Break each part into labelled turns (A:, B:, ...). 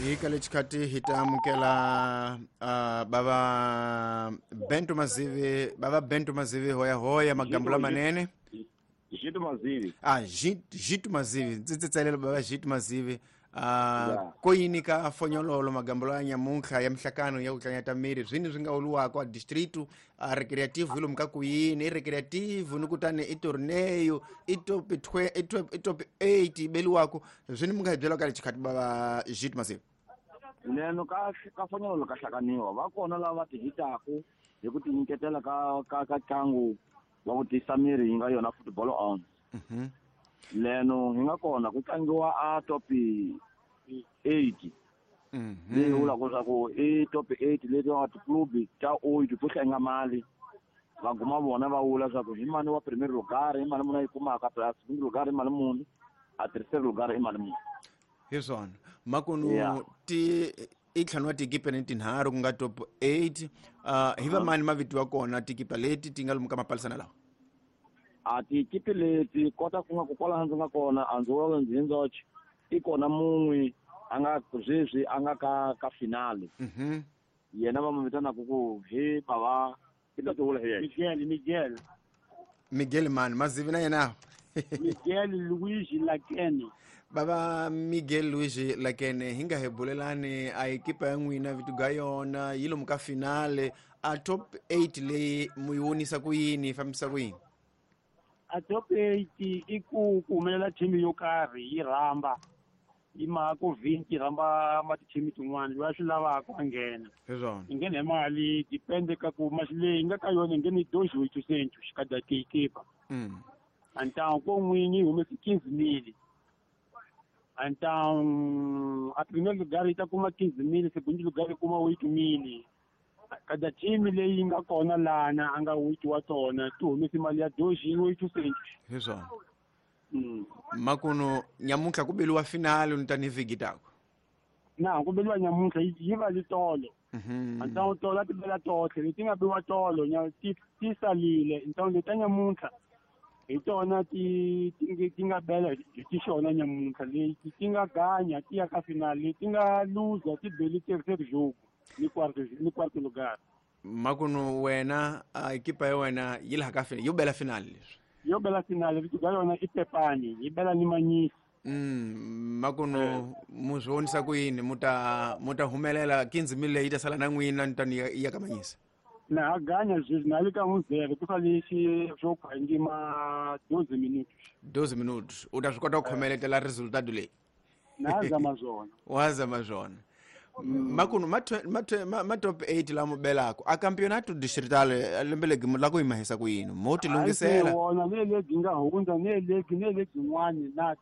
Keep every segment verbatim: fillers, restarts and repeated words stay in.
A: Hi ka lexikhathi hi ta amukela uh, bava Bento Mazivi, bava Bento Mazivi hoya hoya magambo lamanene.
B: Jito Mazivi.
A: Ah, Jito Mazivi, ndzi tsalela bava Jito Mazivi. Uh, koyini ka fonyololo magambo ya nyamuntlha ya mihlakano ya ku tlanyata miri zwini swi nga uluwako a distrito a recreativo hi lomu ka ku yini i recreativo ni kutani i torneo i top i top eight yi beliwako zwini mi nga hi byela ka lexikhathi bava Jito Mazivi.
B: Leno ka ka fonyololo ka hlakaniwa va kona lava va tihitaku hi ku tinyiketela ka ka ka ntlangu wa ku tiyisa miri yi nga yona football on.
A: Mhm.
B: Leno hi nga kona ku tlangiwa a top eight.
A: Mhm.
B: Leyi vulaka swa ku i top eight leti va tiklubi ta oito to hlenga mali va guma vona va vula swa ku hi mani wa primeiro lugar hi mali muni a yi kumaka plus segundo lugar hi mali muni a terceiro lugar i mali muni.
A: Hi swona makunu ti i ntlhanu wa tikipa ni tinharhu ku nga top eight. uh, hi va mani mavito wa kona tikipa leti ti nga lomu ka mapalisana lawa?
B: A tikipi leti kota ku nga ku kwalaho ndzi nga kona a ndzi vulavula ndzi hi ndzoxe i kona mun'we a nga sweswi a nga ka ka finale.
A: Mhm.
B: Yena va mu vitanaka ku hi bava i ta tivula hi yena.
C: Miguel, Miguel.
A: Miguel mani Mazivi na yena.
C: Miguel Luigi Lakene.
A: Baba Miguel Luigi Lakene hi nga hi bulelani a ekipa ya n'wina vito ga yona yi lomu ka finale a top eight leyi mu yi vonisa ku yini yi fambisa ku yini?
C: A top eight i ku ku humelela team yo karhi yi rhamba yi maka ku vhinti rhamba ma ti-team tin'wana loyi a swi lavaka a nghena.
A: Hi swona.
C: Yi nghena hi mali depende ka ku masi leyi nga ka yona yi nghena hi dois oitocentos cada equipa.
A: Mm.
C: Então ko n'winyi yi humese quinze mil. Então a primeiro lugar yi ta kuma quinze mil, segundo lugar yi kuma oito mil. Cada team leyi nga kona lana a nga oito wa tona ti humese mali ya dois oitocentos.
A: Hi swona.
C: Mm.
A: Makuno nyamuntlha ku beliwa finale ni tani vhiki tako.
C: Na ku beliwa nyamuntlha yi va li tolo.
A: Mhm.
C: Então tolo ti bela tohle leti nga biwa tolo nya ti ti salile. Então leta nyamuntlha hi tona ti ti ti nga bela hi ti xona nyamuntlha leti ti nga ganya ti ya ka finale leti nga luza ti beli terceiro jogo ni quarto ni quarto lugar.
A: Makuno wena a ekipa ya wena yi laha ka finale yo bela finale leswi.
C: Yo bela finale vito ga yona i Pepani yi bela ni Manyisi.
A: Mm, makuno mu swi vonisa ku yini mu ta mu ta humelela quinze mil leyi ta sala na n'wina ni tani ya ka Manyisi?
C: Na ha ganya sweswi na le ka un zero ku sale xi swo khangima doze minutos.
A: Doze minutos u ta swi kota ku khomeletela resultado leyi?
C: Na zama swona.
A: Wa zama swona. Makuno ma ma ma top eight lama belako a campeonato distrital lembe legi la ku yimahisa ku yini mo ti lunghisela
C: wona ne legi nga hundza ne legi ne legi n'wani na.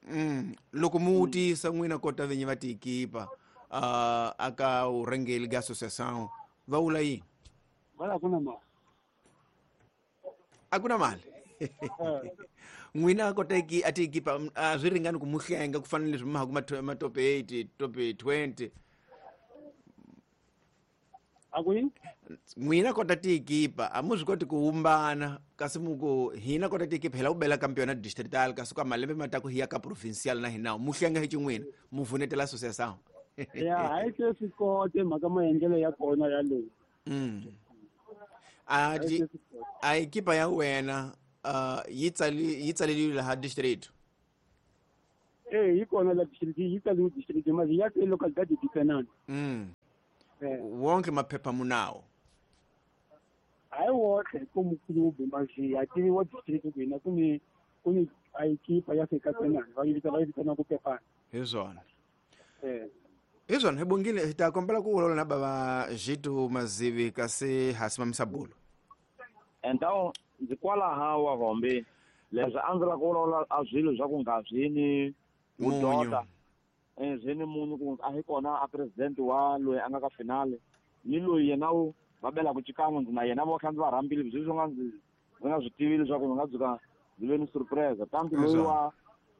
A: Mm, loko mu wutisa n'wina kota vinyi va tiekipa uh, aka urhengeli ga associação va vula yini?
C: Va ku na mali.
A: A ku na mali. N'wina kota ki a tiekipa a swi ringani ku mu hlenga ku fana leswi ma ha ma top eight top twenty.
C: A ku yini?
A: N'wina kota tiekipa a mu swi koti ku humbana kasi mu ku hina kota tiekipa hi lava ku bela campeonato distrital kasi ka malembe ma ta ku hi ya ka provincial na hina mu hlenga hi xin'wina mu vunetela associação.
C: Ya hayi se swi kote mhaka maendlelo ya kona ya leyi.
A: Mm. A di a ekipa ya wena uh yi tsali yi tsaleliwe laha district?
C: Eh yi kona la district yi tsaliwe district mali ya ke localidade de Fernando.
A: Mm. Wonke maphepha munawo?
C: Hayi wohle ku mukulubi manje ya tiviwa district ku hina ku ni ku ni a ekipa ya fika Fernando va yi vita va yi vitana ku Pepani.
A: Hi swona.
C: Eh.
A: Hi swona hi bongile hi ta kombela ku vulavula na bava Jito Mazivi kasi ha simamisa bulo.
B: Então ndzi kwalaha wa Hombe leswi a ndzi lava ku vulavula a swilo swa ku nga swi vudota eh swi ni munhu ku a hi kona a president wa loyi a nga ka finale ni loyi yena wu va belaka xikan'we ndzi na yena vo kha ndzi va rhambile sweswi nga ndzi ndzi nga swi tivi leswaku ndzi nga tshuka ndzi ve ni surprise tanti loyi wa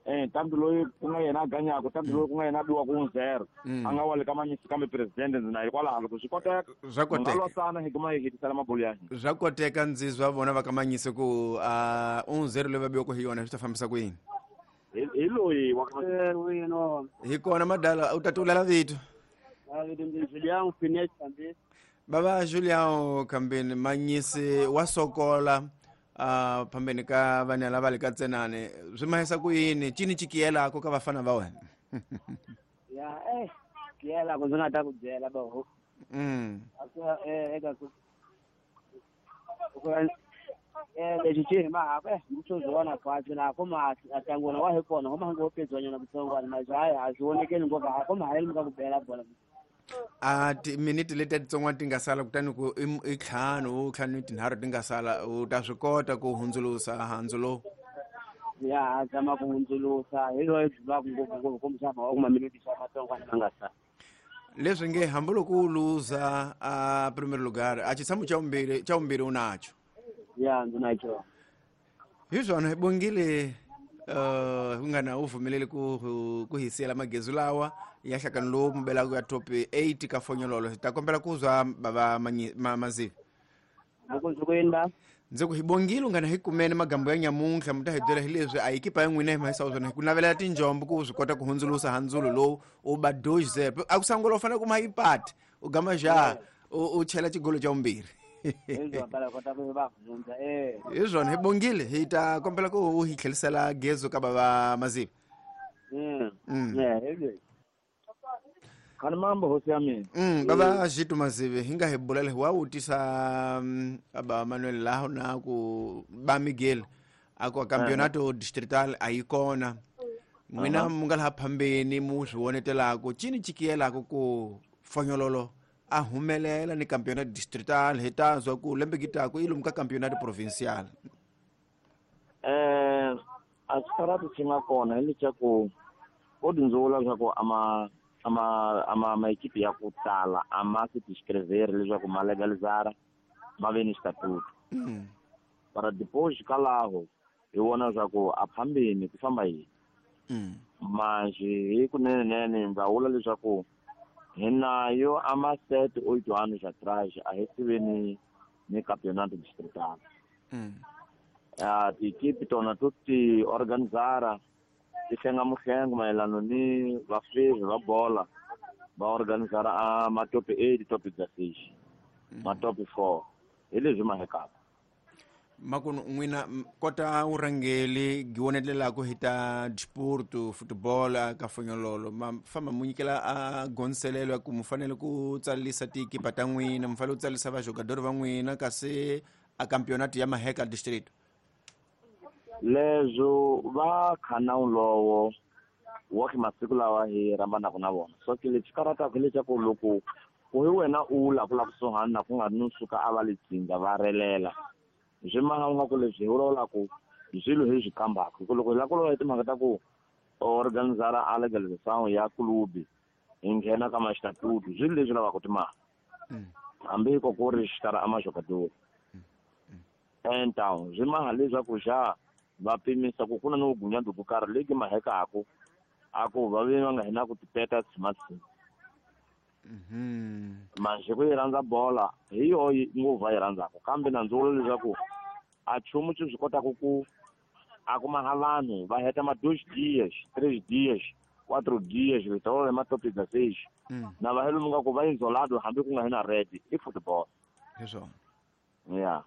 B: eh tanti loyi ku nga yena a ganyaka tanti loyi ku nga yena a biwaka un zero a nga wa le ka Manyisi kambe president ndzi na hikwalaho loko swi koteka
A: swa koteka
B: losana hi kuma hi hetisela mabulu ya hina
A: swa koteka ndzi zwa vona va ka Manyisi ku a un zero leyi va biwaka hi yona swi ta fambisa ku yini?
B: Hi loyi wa
A: hi kona madala u ta tulela vito.
C: Julian Finet Kambeni.
A: Baba Julian Kambeni manyisi wa sokola uh phambeni ka vana lava le ka tsenane swi mahisa ku yini cini chikiyelako ka vafana va wena?
C: Ya eh kiyela ku ndzi nga ta ku byela ba ho.
A: Mm.
C: Eh eka ku eh lexi xi hi mahaka eh mutsozi khwatsi na ko ma atangona wa hi kona ho ma ngo pedzwanyana kutsongwana majaha a swi vonekeli ngopfu a ko ma hayeli ka ku bela bola.
A: A timiniti leti titsongwana ti nga sala kutani ku i ntlhanu ntlhanu tinharhu ti nga sala u ta swi kota ku hundzulusa handzu lowu?
C: Ya zama ku hundzulusa hi loyi byi va ngopfu ngopfu kumbexana wa kuma miniti xa matsongwana ma nga sala.
A: Leswi nge hambiloko u luza a primeiro lugar a xitshamo xa vumbirhi xa vumbirhi u nacho.
C: Ya ndzi na xona.
A: Hi swona hi bongile uh ku nga na u pfumeleli ku ku hi siyela magezu lawa ya hlakano lowu mu belaka ya top eight ka fonyololo. Hi ta kombela ku zwa bava Mazivi. Ndzi ku hi bongile u nga na hi kumene magambo ya nyamuntlha mi ta hi byela hi leswi a ekipa ya n'wina hi mahisa swona hi ku navelela tinjombo ku swi kota ku hundzulusa handzulo lowu u ba dois zero a ku sangula u fanele ku ma yi pati u gama ja u chela xigolo xa vumbirhi. Hi swona hi bongile hi ta kombela ku u hi tlhelisela gezo ka bava Mazivi.
B: Mm. Khani mambo hosi ya mina.
A: Mm, baba Jitu Mazivi hi nga hi bulela hi wa vutisa aba Manuel laho na ku ba Miguel a ku campeonato distrital a yi kona n'wina mu nga laha phambeni mu swi vonetelako cini chikiyelako ku fonyololo a humelela ni campeonato distrital hi ta zwa ku lembe gitako i lomu ka campeonato provincial.
B: Eh a xikarati xi nga kona hi leswaku ko tindzula leswaku ama ama ama maekipi ya ku tala a ma se tiscrivere leswaku ma legalizara ma ve ni xitatuto. Para depois kalaho hi vona leswaku a phambeni ku famba yini. Manjhe hi kunenenene ndza vula leswaku hi nayo a ma sete oito anos atrás a hi tive ni ni campeonato distrital. A tiekipi tona to ti organizara ti hlenga muhlengo mayelana ni vafezi va bola va organizara a ma top eight top dezesseis ma top four hi leswi ma hekaka.
A: Makunu n'wina kota urhangeli giwonetelelako hi ta disporto football ka fonyololo ma famba mu nyikela a gonselelo ya ku mu fanele ku tsalisa tiekipa ta n'wina mu fanele ku tsalisa vajogadori va n'wina kasi a campeonato ya maheka distrito.
B: Leswo va khana lowo wa ki masiku lawa hi rambanaka na vona so ke lexi karataka leswaku loko ku hi wena u la ku la kusuhani na ku nga ri no suka a va le tsinga va relela swi maha nga ku leswi hi vulavulaka swilo hi swi kambaka hi ku loko hi lava ku vulavula hi timhaka ta ku organizara a legalização ya clube hi nghena ka maxitatutu swilo leswi lavaka timali hambi ko ku ri xitara a majogador. Então swi maha leswaku xa va pimisa ku ku na no gunyado ku karhi leki mahekako a ku va ve va nga hina ku tipeta tshima-tshima. Manjhe ku yi rhandza bola hi yoho ngopfu va yi rhandzaka kambe na ndzi vula leswaku a nchumu xi swi kotaka ku a kuma ha vanhu va heta ma dois dias três dias quatro dias vitolo ma top dezesseis na va helo nga ku va isolado hambi ku nga hina red i football.
A: Hi swona.
B: Yeah.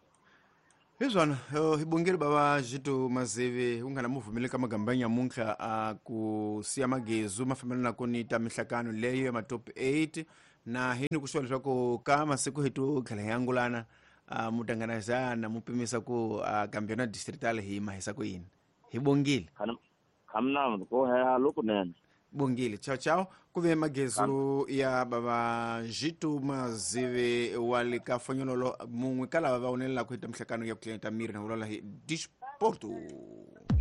A: Hi swona hi bongile baba Jitu Mazivi u nga na muvumeli ka magamba ya nyamuntlha a ku siya magezu ma fambelana ku ni ta mihlakano leyo ya ma top eight na hi ni ku swa leswaku ka masiku hi to tlhela hi angulana mu tanganazana mu pimisa ku campeonato distrital hi mahisa ku yini. Hi bongile.
B: Khamna ko he lokunene.
A: Bongile. Ciao ciao. Ku ve magezu ya baba Jitu Mazivi wa le ka fonyololo mun'we ka lava va vonelelaka hi ta mihlakano ya ku tlhela ta miri na vulavula hi disporto.